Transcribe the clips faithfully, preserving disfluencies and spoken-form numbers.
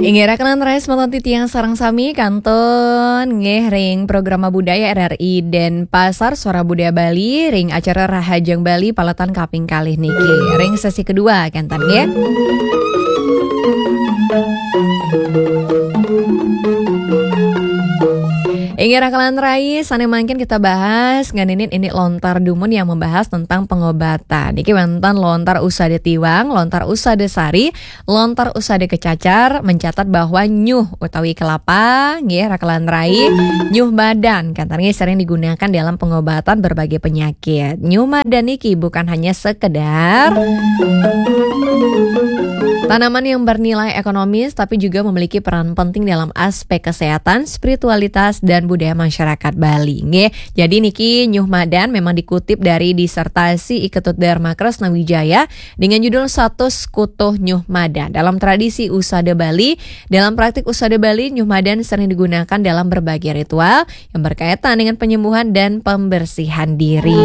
Inggih, rakan rai semeton titiang sareng sami kantun nggih ring Programa Budaya R R I Denpasar, Suara Budaya Bali, ring acara Rahajeng Bali paletan kaping kalih niki. Ring sesi kedua kenten nggih. Inggih, rakan rai, sane mangkin kita bahas ngeninin ini lontar dumun yang membahas tentang pengobatan. Niki wenten lontar Usada Tiwang, lontar Usada Sari, lontar Usada Kecacar mencatat bahwa nyuh utawi kelapa, nggih, rakan rai, nyuh madan, kenten nggih, sering digunakan dalam pengobatan berbagai penyakit. Nyuh madan niki bukan hanya sekedar tanaman yang bernilai ekonomis, tapi juga memiliki peran penting dalam aspek kesehatan, spiritualitas, dan budaya masyarakat Bali. Nggih, jadi niki nyuh madan memang dikutip dari disertasi I Ketut Dharma Kresna Wijaya dengan judul Satus Kutuh Nyuh Madan. Dalam tradisi Usada Bali, dalam praktik Usada Bali, nyuh madan sering digunakan dalam berbagai ritual yang berkaitan dengan penyembuhan dan pembersihan diri.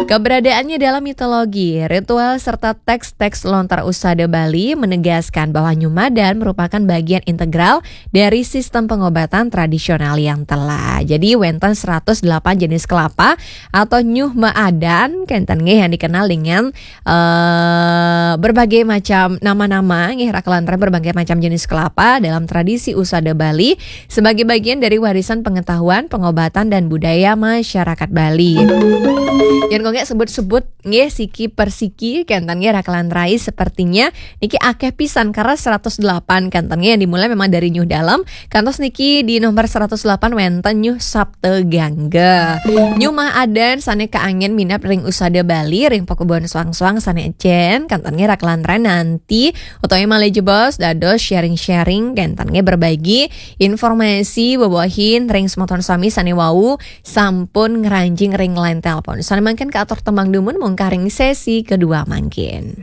Keberadaannya dalam mitologi, ritual, serta teks-teks lontar Usada Bali menegaskan bahwa nyuh madan merupakan bagian integral dari sistem pengobatan tradisional yang telah. Jadi, wenten seratus delapan jenis kelapa atau nyuh madan, kenten nggih, yang dikenal dengan eh, berbagai macam nama-nama, nggih, rakan rai, berbagai macam jenis kelapa dalam tradisi Usada Bali sebagai bagian dari warisan pengetahuan, pengobatan, dan budaya masyarakat Bali. Yen kok nggih sebut-sebut nggih siki persiki, kenten nggih, rakan rai, sepertinya niki akeh pisan, karena seratus delapan, kenten nggih, yang dimulai memang dari nyuh dalem, kantos niki di nomor seratus delapan wenten nyuh Sabta Gangga. Nyuh madan sane kaangen minab ring Usada Bali, ring pakubon soang-soang sane encen, kenten nggih, rakan rai, nanti utawi malih jebos dados sharing-sharing, kenten nggih, berbagi informasi wewehin ring semeton sami sane wau sampun ngranjing ring line telepon. Sane mangkin katur tembang dumun mungkah ring sesi kedua mangkin.